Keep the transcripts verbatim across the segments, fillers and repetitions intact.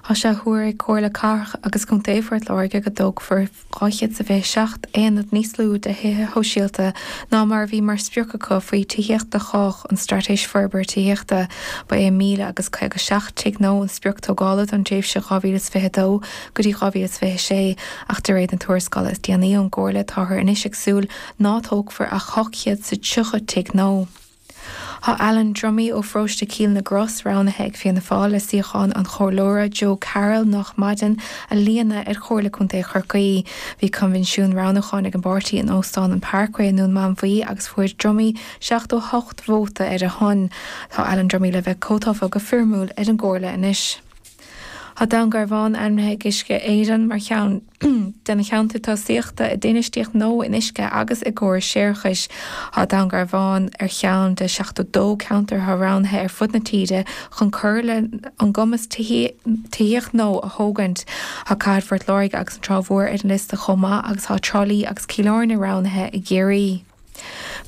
Tá sé á thuar ag Comhairle Cathrach agus Contae Phort Láirge go dtógfar dhá chéad is a fiche seacht aonad níos lú de thithe shóisialta ná mar a bhí mar sprioc acu faoi Tithíocht do Chách, an Straitéis Forbartha Tithíochta. Ba é míle agus caoga seacht tigh nua an sprioc tógála don tréimhse dhá mhíle is fiche dó go dtí dhá mhíle is fiche sé, ach de réir na tuarascála is déanaí ón gComhairle táthar anois ag súil ná tógfar ach ocht chéad is tríocha tigh nua. Tá Alan Dromey ó Pharóiste Chill na gCros roghnaithe ag Fianna Fáil le suíochán an Chomhairleora Joe Carroll nach maireann a líonadh ar Chomhairle Contae Chorcaí. Bhí coinbhinsiún roghnúcháin ag an bpáirtí in Óstán an Parkway i nDún Mánmhaí agus fuair Dromey seachtó hocht vóta ar a shon. Tá Alan Dromey le bheith comhthofa go foirmiúil ar an gComhairle anois. Tá Dún Garbhán ainmnithe ag Uisce Éireann mar cheann de na ceantair tosaíochta i d'infheistíocht nua in uisce agus i gcórais séarachais. Tá Dún Garbhán ar cheann de seachtó dó ceantar atá roghnaithe ar fud na tíre chun cur le an gcumas tithíocht nua a thógaint. Tá Cathair Phort Láirge agus an Trá Mhór ar an liosta chomh maith agus tá Trá Lí agus Cill Airne roghnaithe i gCiarraí.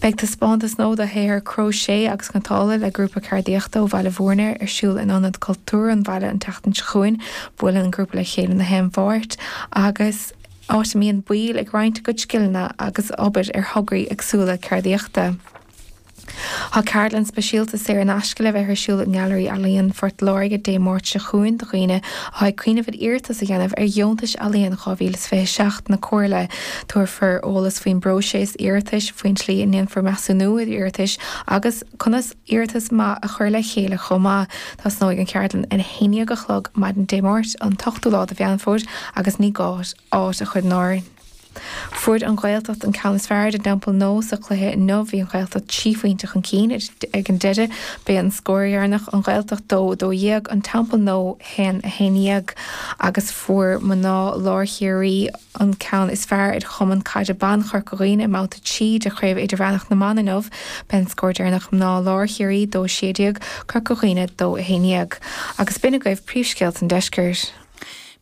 Beidh taispeántas nua de shaothar cróiséis agus cniotála le grúpa ceardaíochta ó Bhaile Bhúirne ar siúl in Ionad Cultúir an bhaile an tseachtain seo chugainn. Buaileann an grúpa le chéile na haon Mháirt agus áit a mbíonn baill ag roinnt a gcuid scileanna agus obair ar thograí éagsúla ceardaíochta. Tá ceardlann speisialta saor in aisce le bheith ar siúl i nGailearaí Ealaíon Phort Láirge Dé Máirt seo chugainn do dhaoine atá ag cuimhneamh ar iarratas a dhéanamh ar dheontais ealaíon dhá mhíle is fiche seacht na Comhairle. Tabharfar eolas faoin bpróiseas iarratais, faoin tslí a ndéanfar measúnú ar iarratais agus conas iarratas maith a chur le chéile chomh maith. Tosnóidh an cheardlann ar a haon déag a chlog maidin Dé Máirt an t-ochtú lá de Mheán Fómhair agus ní gá áit a chur in áirithe. Fuair an Ghaeltacht an ceann is fearr ar an dTeampall Nua sa chluiche inniu. Bhí an Ghaeltacht trí phointe chun cinn ag an deireadh. B'é an scór deireanach an Ghaeltacht dó dó dhéag, an Teampall Nua haon a haon dhéag agus fuair mná Lár Chiarraí an ceann is fearr ar Chumann Caide Ban Chorca Dhuibhne i mbabhta trí de Chraobh Idirmheánach na mBan inniu. B'é an scór deireanach mná Lár Chiarraí dó sé déag, Corca Dhuibhne dó a haon dhéag. Agus b'in agaibh príomhscéalta an deiscirt.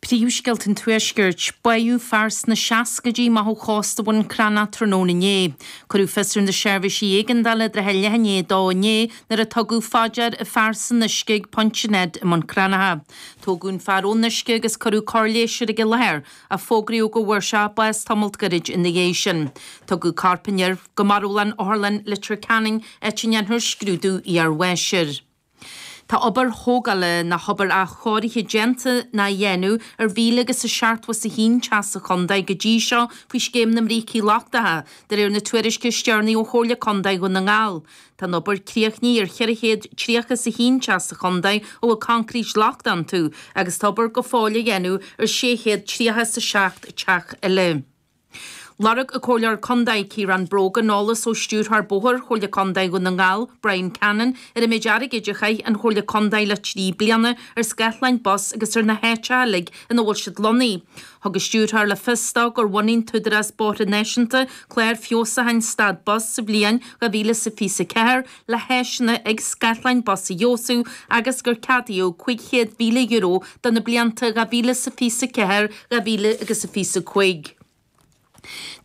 Príomhscéalta an Tuaiscirt, Báthadh fear sna seascaidí amach ó chósta Bhun Cranncha tráthnóna inné. Cuireadh fios ar na seirbhísí éigeandála i dtrátha leath i ndiaidh a dó inné nuair a tugadh fá dear an fear san uisce ag Pointe Ned i mBun Cranncha. Tógadh an fear ón uisce agus cuireadh cóir leighis air ag an láthair ach fógraíodh go bhfuair sé bás tamalt gairid ina dhiaidh sin. Tugadh corp an fhir go marbhlann Otharlann Leitir Ceanainn áit a ndéanfar scrúdú iarbháis air. Tá obair thógála nó obair athchóirithe déanta nó á dhéanamh ar mhíle agus a seachtó is a haon teach sa chontae go dtí seo faoi scéim na mbrící lochtacha, de réir na tuairisce is deireanaí ó Chomhairle Contae Dhún na nGall. Tá an obair críochnaithe ar cheithre chéad tríocha is a haon teach sa chontae a bhfuil coincréit lochtach iontu agus tá obair go fóill á dhéanamh ar sé chéad tríocha is a seacht teach eile. Lorg an Comhairleoir Contae Ciarán Brogan eolas ó Stiúrthóir Bóthair Chomhairle Contae Dhún na nGall, Brian Cannon, ar an méid airgid a chaith an Chomhairle Contae le trí bliana ar scáthláin bus agus ar na háiteacha uilig ina bhfuil siad lonnaithe. Thug an stiúrthóir le fios dó gur bhunaigh an tÚdarás Bóithre Náisiúnta clár feabhsúcháin stad bus sa bhliain dhá mhíle is a fiche a ceathair le háiseanna ag scáthláin bus a fheabhsú agus gur ceadaíodh cúig chéad mhíle euro do na blianta dhá mhíle is a fiche a ceathair, dhá mhíle agus a fiche a cúig.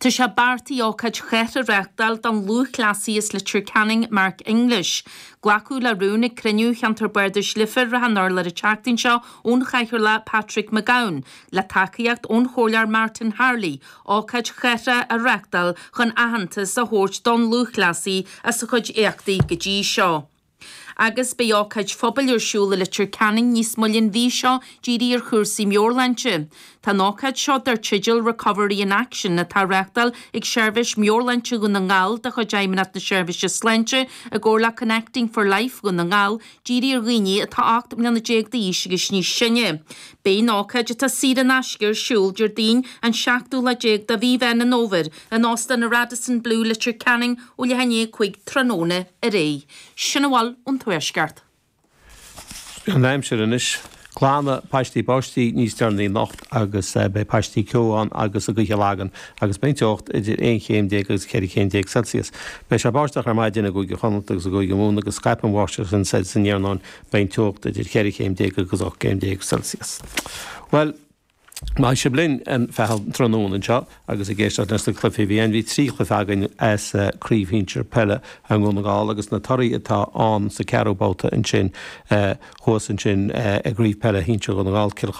Tá sé beartaithe ócáid chathartha a reáchtáil don lúthchleasaí as Leitir Ceanainn Mark English. Glacadh le rún ag cruinniú Cheantar Bardais Leifear Ráth an Urláir an tseachtain seo ón Chathaoirleach Patrick McGowan, le tacaíocht ón Chomhairleoir Martin Harley, ócáid chathartha a reáchtáil chun aitheantas a thabhairt don lúthchleasaí as a chuid éachtaí go dtí seo. Agus beidh ócáid phobail ar siúl i Leitir Ceanainn níos moille an mhí seo dírithe ar chúrsaí meabhairshláinte. Tá an ócáid seo dar teideal Recovery in Action atá á reáchtáil ag Seirbhís Meabhairshláinte Dhún na nGall de chuid Fheidhmeannacht na Seirbhíse Sláinte i gcomhar le Connecting for Life Dhún na nGall dírithe ar dhaoine atá ocht mbliana déag d'aois agus níos sine. Beidh an ócáid atá saor in aisce ar siúl Déardaoin an seachtú lá déag de mhí Mheán an Fhómhair in Óstán an Radisson Blu Leitir Ceanainn ó leath i ndiaidh a cúig tráthnóna ar aghaidh. Sin a bhfuil ón Tuaisceart. An aimsir anois. Glanfaidh paistí báistí níos deireanaí anocht agus beidh paistí ceo ann agus an ghaoth ag lagan agus beidh an teocht idir aon chéim déag agus ceithre chéim déag Celsius. Beidh sé báisteach ar maidin i gCúige Chonnacht agus i gCúige Mumhan agus scaipfidh an bháisteach sin soir san iarnóin beidh an teocht idir cheithre chéim déag agus ocht gcéim déag Celsius. Bhuel, Maith sibh linn feadh an tráthnóna anseo agus ag éisteacht leis na cluichí a bhí ann. Bhí trí chluiche againn as Craobh Shinsir Peile i nDún na nGall agus na torthaí atá ann sa ceathrú babhta ansin thuas ansin i gCraobh Peile Shinsir Dhún na nGall, Cill